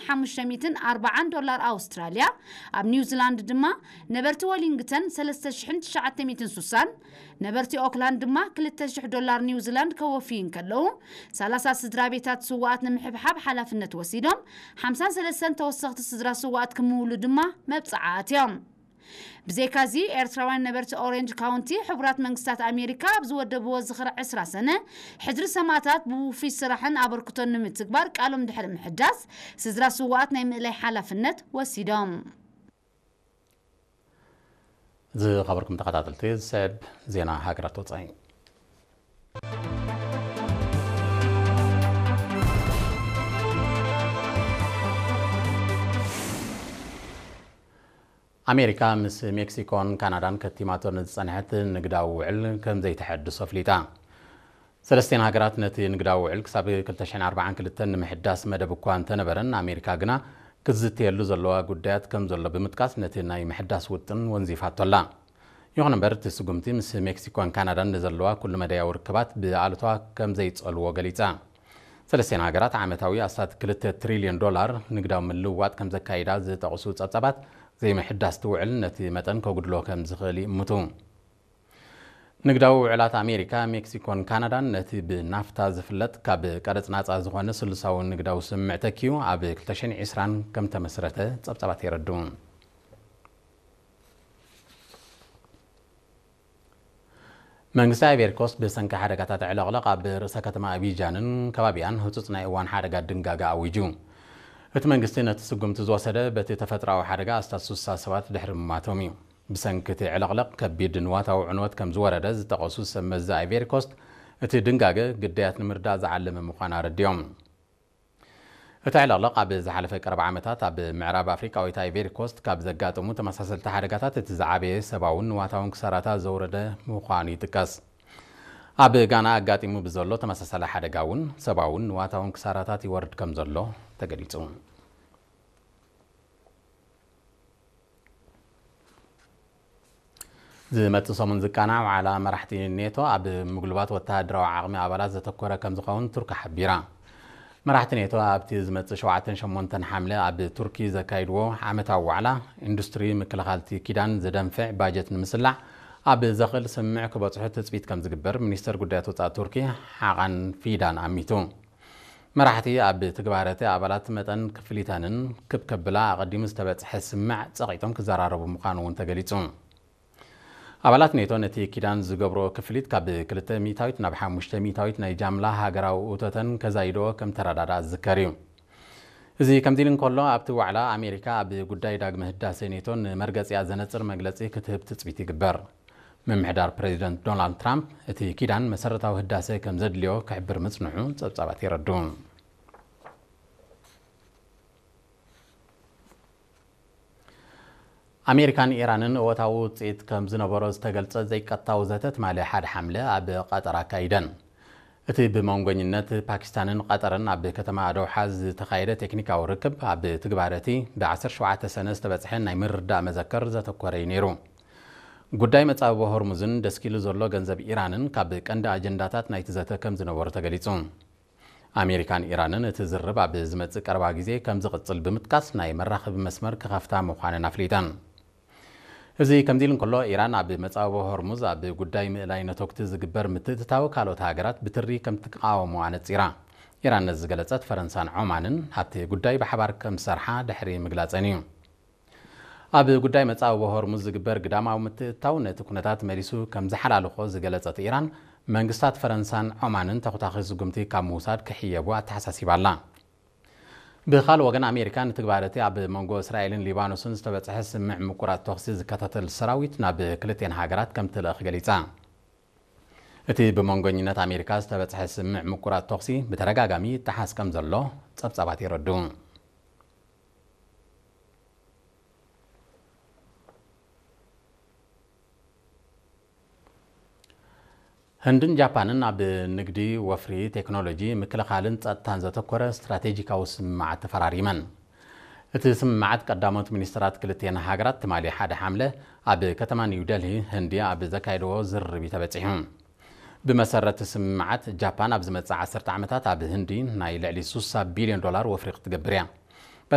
ሓሙሽተ ሚእትን ኣርባዓን ዶላር ኣውስትራልያ፣ ኣብ ኒውዚላንድ ድማ ነበርቲ ወሊንግተን ሰለስተ ሽሕን ትሽዓተ ሚእትን ሱሳን፣ ነበርቲ ኦክላንድ ድማ ክልተ ሽሕ ዶላር ኒውዚላንድ ከወፍዩ እንከለዉ፣ ሰላሳ ስድራ ቤታት ስዋኣት ንምሕብሓብ ሓላፍነት ወሲዶም፣ ሓምሳን ሰለስተን ተወሰኽቲ ስድራ ስዋኣት ክምውሉ ድማ መብጽዓ ኣትዮም። ብዘይካዚ፣ ኤርትራውያን ነበርቲ ኦሬንጅ ካውንቲ፣ ሕቡራት መንግስታት ኣሜሪካ ኣብ ዝወደብዎ ዝኽሪ ዕስራ ሰነ ሕድሪ ሰማእታት ብውፉይ ስራሕን ኣበርክቶን ንምትግባር ቃሎም ድሕሪ ምሕዳስ፣ ስድራ ስዋኣት ናይ ምእላይ ሓላፍነት ወሲዶም። ዝኸበርኩም ተኸታተልቲ፣ ዝስዕብ ዜና ሃገራት ወጻኢ። ኣሜሪካ ምስ ሜክሲኮን ካናዳን ከቲማቶ ንዝጸንሐት ንግዳዊ ውዕል ከም ዘይተሐድሶ ኣፍሊጣ። ሰለስቲኣን ሃገራት ነቲ ንግዳዊ ውዕል ክሳብ ክልተ ሽሕን ኣርባዓን ክልተን ንምሕዳስ መደብ እኳ እንተነበረን፣ ኣሜሪካ ግና ክትዝተየሉ ዘለዋ ጉዳያት ከም ዘሎ ብምጥቃስ፣ ነቲ ናይ ምሕዳስ ውጥን ወንዚፋቶ ኣላ። ይኹን እምበር፣ እቲ ስጉምቲ ምስ ሜክሲኮን ካናዳን ንዘለዋ ኩሉ መዳያዊ ርክባት ብኣሉታ ከም ዘይጸልዎ ገሊጻ። ሰለስቲኣን ሃገራት ዓመታዊ ኣስታት ክልተ ትሪልዮን ዶላር ንግዳዊ ምልውዋጥ ከም ዘካይዳ ዝጠቕሱ ጸብጻባት፣ ዘይምሕዳስ እቲ ውዕል ነቲ መጠን ከጉድሎ ከም ዝኽእል ይእምቱ። ንግዳዊ ውዕላት ኣሜሪካ፣ ሜክሲኮን ካናዳን ነቲ ብናፍታ ዝፍለጥ ካብ ቀረጽ ናጻ ዝኾነ ስሉሳዊ ንግዳዊ ስምምዕ ተኪኡ ኣብ ክልተ ሽሕን ዕስራን ከም ተመስረተ ጸብጻባት የረድኡ። መንግስቲ ኣይቬሪ ኮስት ብሰንኪ ሓደጋታት ዕለቕለቕ ኣብ ርእሰ ከተማ ኣቢጃንን ከባቢኣን ህጹጽ ናይ እዋን ሓደጋ ድንጋገ ኣዊጁ። እቲ መንግስቲ ነቲ ስጉምቲ ዝወሰደ በቲ ተፈጥሮኣዊ ሓደጋ ኣስታት ሱሳ ሰባት ድሕሪ ምማቶም እዩ። ብሰንኪ እቲ ዕለቕለቕ ከቢድ ንዋታዊ ዕንወት ከም ዝወረደ ዝጠቐሱ ሰብ መዚ ኣይቬሪ ኮስት፣ እቲ ድንጋገ ግዳያት ንምርዳእ ዝዓለመ ምዃኑ ኣረዲኦም። እቲ ዕለቕለቕ ኣብ ዝሓለፈ ቀረባ ዓመታት ኣብ ምዕራብ ኣፍሪቃዊት ኣይቬሪ ኮስት ካብ ዘጋጠሙ ተመሳሰልቲ ሓደጋታት እቲ ዝዓበየ ሰብኣውን ንዋታውን ክሳራታት ዘውረደ ምዃኑ ይጥቀስ። ኣብ ጋና ኣጋጢሙ ብዘሎ ተመሳሳሊ ሓደጋ እውን ሰብኣውን ንዋታውን ክሳራታት ይወርድ ከም ዘሎ ተገሊጹ። ዝመጽእ ሰሙን ዝቃናዕ ዋዕላ መራሕቲ ኔቶ ኣብ ምጉልባት ወተሃደራዊ ዓቕሚ ኣባላት ዘተኮረ ከም ዝኸውን ቱርኪ ሓቢራ። መራሕቲ ኔቶ ኣብቲ ዝመጽእ ሸውዓተን ሸሞንተን ሓምለ ኣብ ቱርኪ ዘካይድዎ ዓመታዊ ዋዕላ፣ ኢንዱስትሪ ምክልኻልቲ ኪዳን ዘደንፍዕ ባጀት ንምስላዕ ኣብ ዘኽእል ስምምዕ ክበጽሑ ትጽቢት ከም ዝግበር ሚኒስተር ጉዳያት ወጻኢ ቱርኪ ሓቓን ፊዳን ኣሚቱ። መራሕቲ ኣብ ትግባረቲ ኣባላት መጠን ክፍሊተንን ክብ ከብላ ኣቐዲሙ ዝተበጽሐ ስምምዕ ጸቒጦም ክዘራረቡ ምዃኑ እውን ተገሊጹ። ኣባላት ኔቶ ነቲ ኪዳን ዝገብሮ ክፍሊት ካብ ክልተ ሚእታዊት ናብ ሓሙሽተ ሚእታዊት ናይ ጃምላ ሃገራዊ እቶተን ከዛይድኦ ከም ተረዳድኣ ዝዝከር እዩ። እዚ ከምዚ ኢሉ እንከሎ፣ ኣብቲ ዋዕላ ኣሜሪካ ኣብ ጉዳይ ዳግመ ህዳሴ ኔቶ ንመርገጺኣ ዘነጽር መግለጺ ክትህብ ትጽቢት ይግበር። ምምሕዳር ፕሬዚደንት ዶናልድ ትራምፕ እቲ ኪዳን መሰረታዊ ህዳሴ ከም ዘድልዮ ክሕብር ምጽንሑ ጸብጻባት የረድኡ። ኣሜሪካን ኢራንን እወታዊ ውጽኢት ከም ዝነበሮ ዝተገልጸ ዘይቀጥታዊ ዘተ ትማሊ ሓደ ሓምለ ኣብ ቀጠር ኣካይደን። እቲ ብመንጎኝነት ፓኪስታንን ቀጠርን ኣብ ከተማ ዶሓ ዝተኻየደ ቴክኒካዊ ርክብ፣ ኣብ ትግባረቲ ብ ዓሰርተ ሸውዓተ ሰነ ዝተበጽሐ ናይ ምርዳእ መዘከር ዘተኮረ እዩ ነይሩ። ጉዳይ መጻብቦ ሆርሙዝን ደስኪሉ ዘሎ ገንዘብ ኢራንን ካብ ቀንዲ ኣጀንዳታት ናይቲ ዘተ ከም ዝነበሩ ተገሊጹ። ኣሜሪካን ኢራንን እቲ ዝርርብ ኣብ ዝመጽእ ቀረባ ግዜ ከም ዝቕጽል ብምጥቃስ፣ ናይ መራኸቢ መስመር ክኸፍታ ምዃነን ኣፍሊጠን። እዚ ከምዚ ኢሉ እንከሎ፣ ኢራን ኣብ መጻብቦ ሆርሙዝ ኣብ ጉዳይ ምእላይ ነተጉቲ ዝግበር ምትእትታው ካልኦት ሃገራት ብትሪ ከም ትቃወሞ ኣነጺራ። ኢራን ነዚ ዝገለጸት፣ ፈረንሳን ዖማንን ኣብቲ ጉዳይ ብሓባር ከም ዝሰርሓ ድሕሪ ምግላጸን እዩ። ኣብ ጉዳይ መጻብቦ ሆርሙዝ ዝግበር ግዳማዊ ምትእትታው ነቲ ኩነታት መሊሱ ከም ዝሓላልኾ ዝገለጸት ኢራን፣ መንግስታት ፈረንሳን ዖማንን ተኹታኺ ስጉምቲ ካብ ምውሳድ ክሕየቡ ኣተሓሳሲባ ኣላ። ብኻልእ ወገን፣ ኣሜሪካ ንትግባረቲ ኣብ መንጎ እስራኤልን ሊባኖስን ዝተበጽሐ ስምምዕ ምቁራጽ ተኹሲ ዝከታተል ሰራዊት ናብ ክልቴን ሃገራት ከም ትልእኽ ገሊጻ። እቲ ብመንጎኝነት ኣሜሪካ ዝተበጽሐ ስምምዕ ምቁራጽ ተኹሲ ብተደጋጋሚ ይጠሓስ ከም ዘሎ ጸብጻባት የረድኡ። ህንድን ጃፓንን ኣብ ንግዲ፣ ወፍሪ፣ ቴክኖሎጂ፣ ምክልኻልን ጸጥታን ዘተኮረ ስትራቴጂካዊ ስምምዓት ተፈራሪመን። እቲ ስምምዓት ቀዳሞት ሚኒስትራት ክልቲኤን ሃገራት ትማሊ ሓደ ሓምለ ኣብ ከተማ ኒው ደልሂ ህንዲ ኣብ ዘካየድዎ ዝርርብ እዩ ተበጺሑ። ብመሰረት ስምምዓት፣ ጃፓን ኣብ ዝመጽእ ዓሰርተ ዓመታት ኣብ ህንዲ ናይ ልዕሊ ሱሳ ቢልዮን ዶላር ወፍሪ ክትገብር እያ።